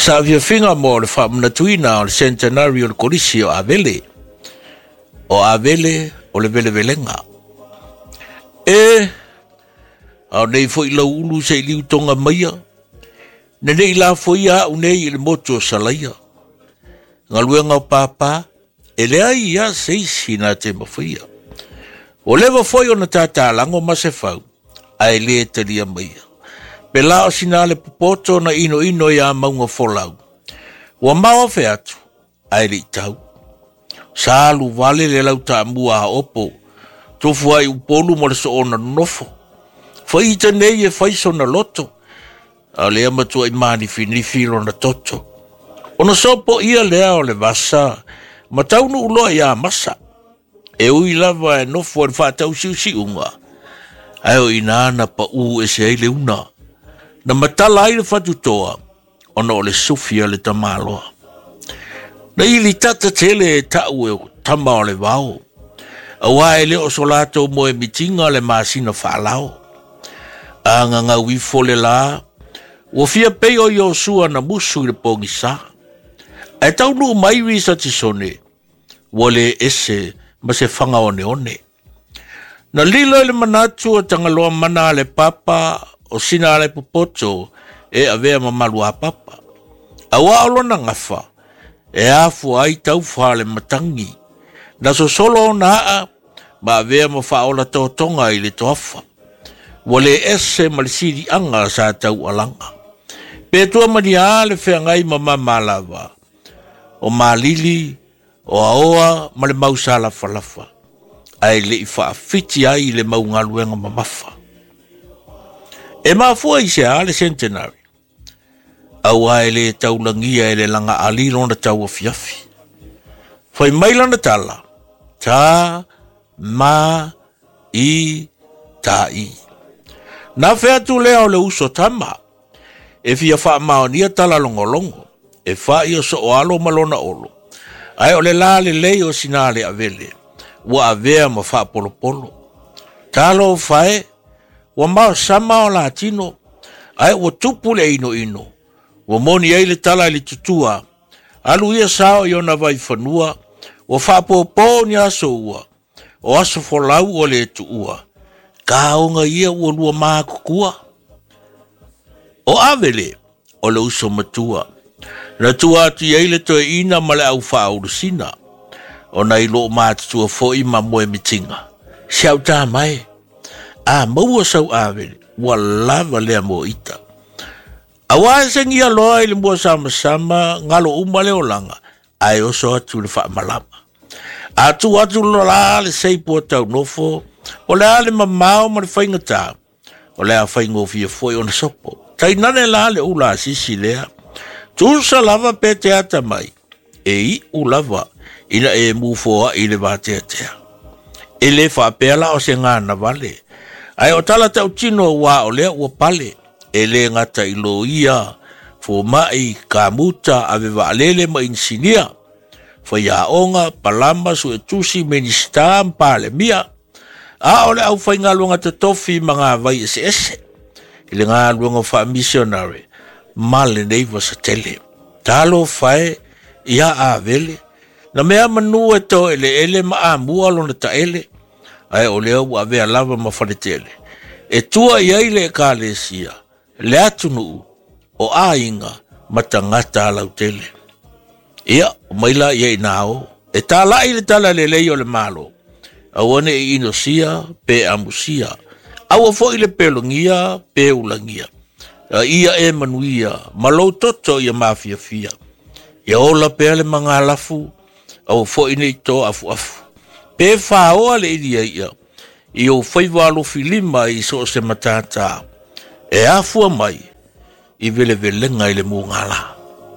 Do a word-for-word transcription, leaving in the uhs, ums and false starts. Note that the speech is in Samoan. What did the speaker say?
Saafiafiga mo le faamanatuina o le centenary o le Kolisi o Avele. O Avele o le velevelega. E, ao nei foi lau ulu se i liu tonga maia, nenei la foia au nei i le motu o Salaia. Galuega o pāpā, e leai ia se isi na te mafaia. O leva foi ona tatalago ma se fau, ae lē talia maia. Pe la o sina le popoto na ino ino ia maunga folau. Ua mao fe atu, ae le tau. Sa alu vale le lau taamua a opo, tofu ai upolu mo le soona nofo. Faita nei e faisona loto, a lea matua i manifinifi lona toto. Ona sopo ia lea o le vasa, ma taunu uloa ia masa. E ui lava e nofo e whaatau siusiunga, ae o ina na pa u e se ai le una. Na matala ai le whatutoa, ona o le sufia le tamaloa. Na ili tata tele e tau e tama o le vao. Aua e leo so lato mo e mitinga le masina whaalao. A ngangau ifo le la, ua fia pei o Iosua na musu i le pongisa. Ae taunu mai risa tisone, ua le ese ma se whanga one one. Na lilo i le manatu o tangaloa mana a le papa o sina ale popoto e avea mamalu a papa. Aua o lona ngafa, e afu ai taufa le matangi. Na sosolo ona aa, ma avea ma whaola totonga i le toafa. Ua le ese ma le siri anga sa tau alanga. Pe tua mania le wheangai ma mamalava. O malili, o aoa ma le mausala falafa. Ae le i whaafiti ai le maungaluenga mamafa. E mafua i se a le centenary. Aua e le taulangia e le langa ali lona tau afiafi. Fai mai lana tala. Ta, ma, i, ta i. Na wheatu lea o le uso tama. E fia whaamaonia tala longolongo. E wha o so o alo ma lona olo. Ae o le la le lei o sina le avele. Ua avea ma whaapolopolo. Talo whae, ua mao sama o la tino. Ae ua tupu le ino ino. Ua moni ai le tala i le tutua. Alu ia sao i ona vai whanua. Ua whaapopo ni aso ua. O aso folau o le tuua. Kaonga ia ua lua maakukua. O avele o le uso matua. Na tua atu ia ile toe ina ma le au whaaulusina. O na ilo mātutua foi ma moe mitinga. Si au tā mai. A maua sau avele. Ua lava lea mo ita. Awa e sengia loa i le mua sama sama ngalo uma le olanga. Ae oso atu le whaamalama. Atu atu lola le seipo tau nofo. O le ale mamao ma le whaingata. O le a whaingofia foi ona sopo. Tainane la le ula asisi lea. Tusa lava pe te ata mai. E i ulava ina e mufoa i le vateatea. E le whaapea la o se ngana vale. Ae o tala tautino wā o lea ua pale. E le ngata i loia, fomai, kamuta, ave waalele ma insinia. Whaiaonga, palama, suetusi, minista, mpale mia. A o le au whaingaluanga te tofi ma ngā vai ese ese. I le ngā luanga wha missionary. Ma le nei wasatele. Talo whae, ia a vele. Na mea manu e to ele ele ma a mua lona ta ele. Ae o lea ua avea lava ma whaletele. E tua ia i le ekalesia, le atunuu o ainga ma tangata alautele. Ia, o maila ia i nao, e tālai le tala le lei o le malo. Aua ne i inosia pe amusia. Aua foi le pelongia pe ulangia. A ia e manuia, ma lou toto ia mafiafia. Ia ola pea le mangalafu, aua foi nei to afu afu. Pe whaoa le iria ia, i o whaiwa alofi lima i so se matata. E afua mai, i vele velenga i le mungala.